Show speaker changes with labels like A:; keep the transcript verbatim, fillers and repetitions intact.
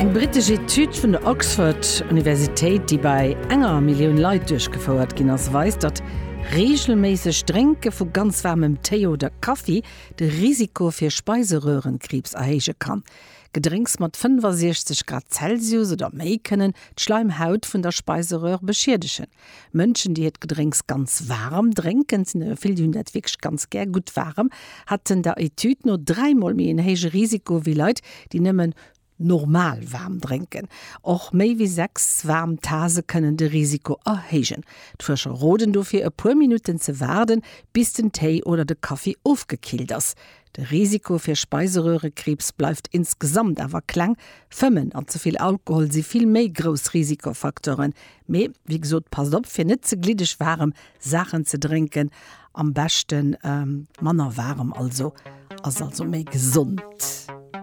A: Eng brittesch Etüd vun der Oxford Universitéit, déi bei enger Millioun Leit duerchgefouert ginn ass, weist, datt reegelméissegt Drénke vu ganz waarmem Téi oder Kaffi de Risiko fir Speiserörenkriibs erhéije kann. Gedrénks mat fënnefasiechzeg Grad Celsius oder méi kënnen d'Schleimhaut vun der Speiseröhr beschiedegen. Mënschen, déi hiert Gedrénks ganz waarem drénken, sinn der vill, déi hunn dat wierklech ganz gär gutt waarem, haten der Etüd no dräimol méi en héije Risiko wéi Leit, déi nëmmen normal waarm drénken. Och méi wéi sechs waarm Tase kënnen de Risiko erhéijen. D'Fuerscher roden dofir, e puer Minutten ze waarden, bis den Téi oder de Kaffi ofgekillt ass. De Risiko fir Speiseröhrekriibs bleift insgesamt awer kleng. Fëmmen an ze vill Alkohol si vill méi grouss Risikofacteuren. Mee wéi gesot, passt op fir net ze gliddeg waarem Saachen ze drénken. Am beschten manner waarem also, ass also méi gesond.